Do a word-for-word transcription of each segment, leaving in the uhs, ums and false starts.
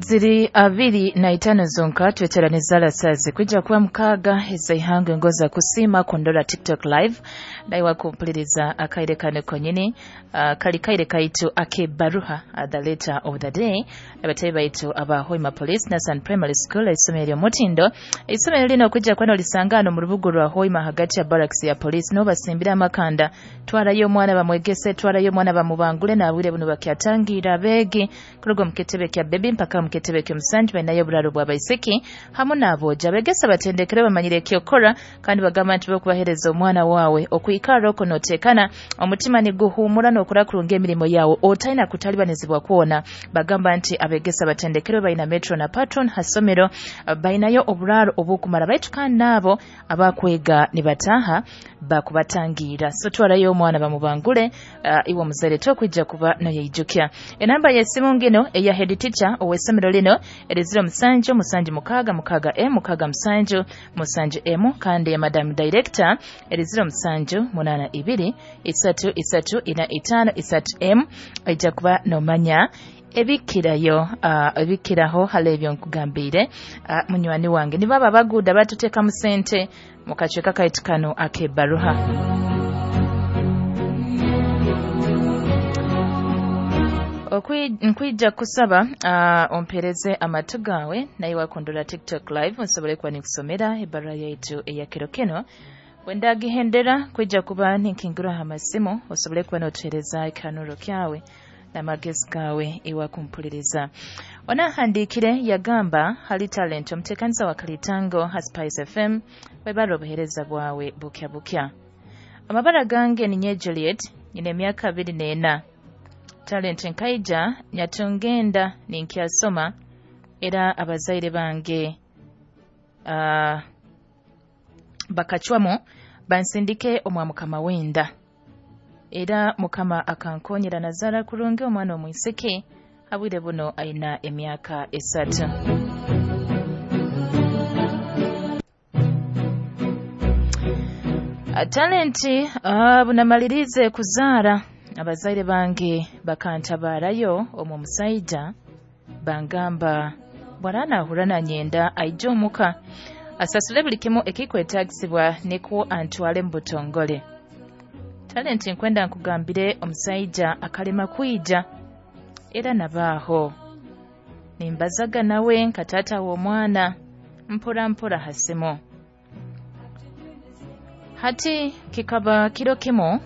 Ziri abiri na itano zonka tweteranizala sazi kwijja kuba mukaaga ez'eihanga engoza kusiima kundora TikTok live naiwe kumpuliriza akaire kano konyini uh, kali kaire kaitu akebaruha uh, the letter of the day. Abatayi baitu aba Hoima Police Nasan Primary School isomero ly'omutindo. Isomero lino kwijja kuba nolisangano mu rubuga rwa Hoima hagati ya barracks ya police n'obasimbira amakanda. Twarayo omwana bamwegese, twarayo omwana bamubangule n'abwire buno bakyatangira abeegi kuruga mu kitebe kya baby mpaka mu kitebe ky'omusanju balinayo oburaaro bw'abaisiki hamu n'aboojo. Abegesa batendekere bamanyire ekyokora kandi bagamba nti bokubahereza omwana waawe okwikara okwo notekana omutima niguhumura n'okora kurunga emirimo yawe otalina kutalibanizibwa kwona. Bagamba nti abegesa batendekere balina metro na patron hasomero balinayo oburaaro obukumara baitu kandi n'abo abakwega nibataha bakubatangira. So twarayo omwana bamubangule uh, iwe omuzaire tokwijja kuba noyeijukya. Enamba y'essimu ngino eya head teacher ow'essomero lino eri ziro musanju musanju mukaaga mukaaga emu mukaaga musanju musanju emu, kandi ya madam director eri ziro musanju munaana ibiri isatu isatu ina itaano isatu emu. Ojja kuba nomanya ebikirayo uh, ebikiraho hali ebyo nkugambiire. uh, munywani wange nibo abo abaguuda batuteekamu sente mu kacweka kaitu kano ak'ebbaruha. Nkwija kusaba uh, ompereze amatu gawe naye wakundura TikTok live nsobole kuba nikusomera ebbaruha yaitu eya kiro kino. Wendagihendera kwija kuba ninkingura amasimu osobole kuba notuhereza ekihanuro kyawe n'amagezi gawe iwakumpuliriza. Onahandiikire yagamba hali talent omuteekaniza wa Kalitango ha Spice F M webara obuheereza bwawe bukya bukya. Amabara gange ni nye Juliet, nyina emyaka abiri n'ena. Talent nkaija nyatungenda ninkyasoma era abazaire bange uh, bakacwamu bansindike omwa mukama wenda. Era mukama akankonyera nazara kurungi omwana omwisiki abwire buno aina emyaka esatu. Talenti uh, bunamalirize kuzaara abazaire bange bakantabarayo omu musaija bangamba bwaranahura nanyenda aije omuka asasule buli kimu ekikwetagisibwa nikwo antwale mu butongole. Talenti nkwenda nkugambire omusaija akalema kwija era nabaaho nimbazaga nawe nka taata w'omwana mpora mpora hasimu. Hati kikaba kiro kimu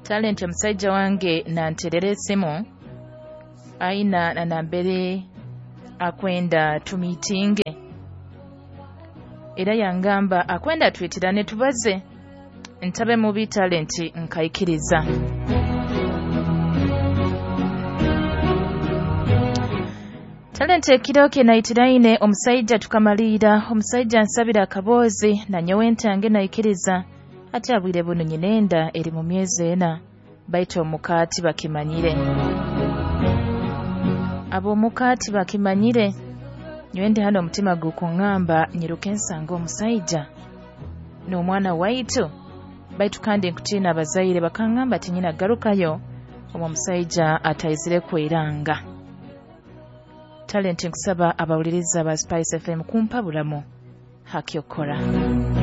talenti omusaija wange nanterera esimu aina na nambere akwenda tumitinge era yangamba akwenda twitirane tubaze ntabe mubi talenti nkaikiriza. Talenti ekiro kye naitiraine omusaija tukamalira omusaija nsabira akaboozi na nyowe ntange naikiriza ate abwire buno nyinenda eri mu myezi ena baitu omukaati bakimanyire. Abo omukaati bakimanyire nywende hano omutima gukuŋŋamba nyiruke nsanga omusaija n'omwana waitu baitu kandi nkutiina abazaire bakaŋŋamba tinyina garukayo omwo omusaija ataizire kweranga. Talenti nkusaba abawuliriza ba Spice F M kumpa bulamu hakyokora.